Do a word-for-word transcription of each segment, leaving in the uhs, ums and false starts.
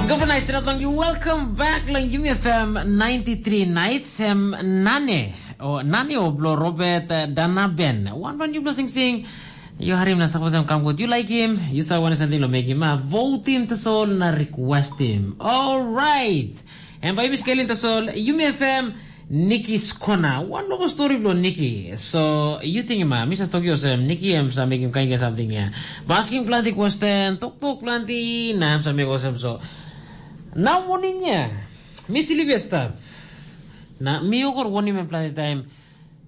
Gavana Istiraton, you welcome back long Yumi F M ninety-three Nights, em Nane, o Nane o blo Robert uh, Danaben. One van you blessing sing, you harim na sapos em come good, you like him, you sa wana something lo make him, uh, vote him to soul na request him. All right. And by Miss Kelly to soul, Yumi F M, Nikki Skona. One local story blo Nikki. So, you think ma, Mister Tokyo sem, Nikki em sa make him kind of something ya. Basking planti question, tok tok planti, na em sa make osem so. Now morning ya, mi silip ya stap. Na mi okor warning em planti time.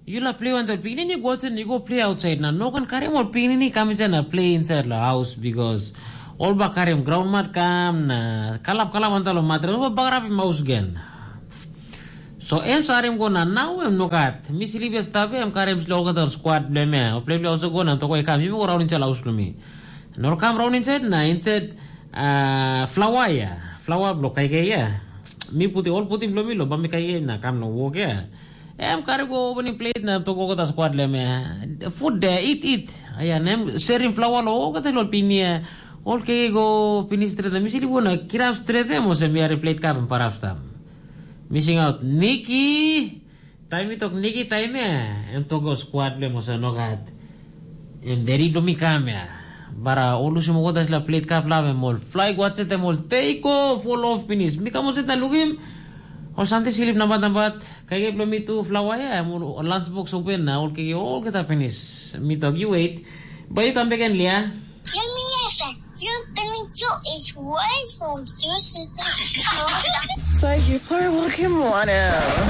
Yula play wantaim pikinini go outside, you go play outside. Na no kan karim ol pikinini kam inside na play inside lo house because ol ba karim ground mat kam na kalap kalap wantaim lo mattress, ol ba bagarapim house gen. So em sarim go na nau em nogat. Mi silip ya stap em karim slo olgeta squad bilong em ya. Ol play bilong house go na tokoi kam, yumi go raun inside house bilong mi. Na ol kam raun inside na inside uh, flower ya. Flower bilong kaikai ya. Mi puti ol puti bilong mi lo ba mi kaikai na kam lo wok ya. Em kari go opening plate na tok olgeta squad bilong em ya. Food de, eat, eat. Aya, na em sharing flower lo olgeta lo pinia. Ol kaikai go finish straight na mi silip go na kirap straight em olsem mi hari plate cup em parap stap. Missing out Nikki. Taim mi tok Nikki taim ya, em tok go squad bilong em olsem nogat. Em deri bilong mi kam ya. Bara ol lusim olgeta dispela plate cup lav em ol fly go atsent em ol take off ol off pinis. Mi kam olsem na lukim ol samting slip nambat nambat. Kaikai bilong mi tu flower ya, em ol lunch box open na ol kaikai olgeta pinis. Mi tok you wait. Bai you come back and lia. Yumi F M, your peninsula is way from Yusuf. So you poor Pokemon.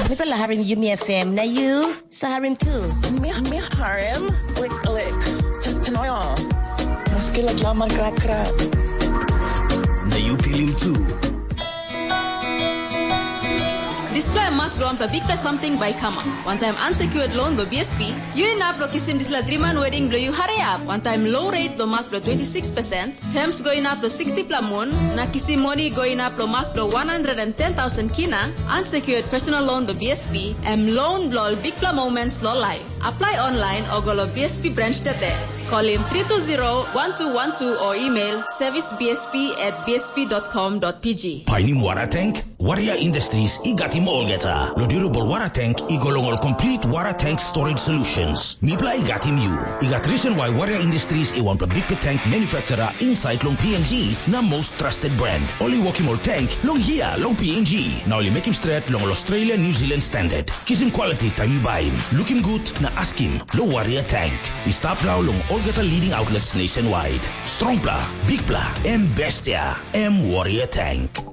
Mipela harim Yumi F M, na you sa harim tu. Mi, mi harim, like, like, t- tanoyo. Maski lagi aman krak krak. Na you pilim tu. Dispela em mak bilong wanpela bikpela samting bai i kamap. Wantaim unsecured loan bilong B S P, yu inap long kisim dispela driman wedding bilong yu hariap. Wantaim low rate bilong mak bilong twenty six percent, terms go inap long sixty pela mun, na kisim moni go inap long mak bilong one hundred and ten thousand kina, unsecured personal loan bilong B S P, em loan bilong ol bikpela moments long laip. Apply online o go long B S P branch today. Call him three two zero one two one two or email service B S P at B S P dot com dot P G. Painim wara tank? Warrior Industries i gatim olgeta. Lo durable wara tank i go long ol complete wara tank storage solutions. Mipela i gatim you. I gat reason why Warrior Industries i wanpela bikpela tank manufacturer inside long P N G na most trusted brand. Ol i wokim ol tank long hia long P N G. Na ol i mekim stret long ol Australia New Zealand standard. Kisim quality taim yu baim. Lukim gut na askim lo Warrior Tank. I stap nau long olgeta leading outlets nationwide. Strongpela, bikpela, em bestia, em Warrior Tank.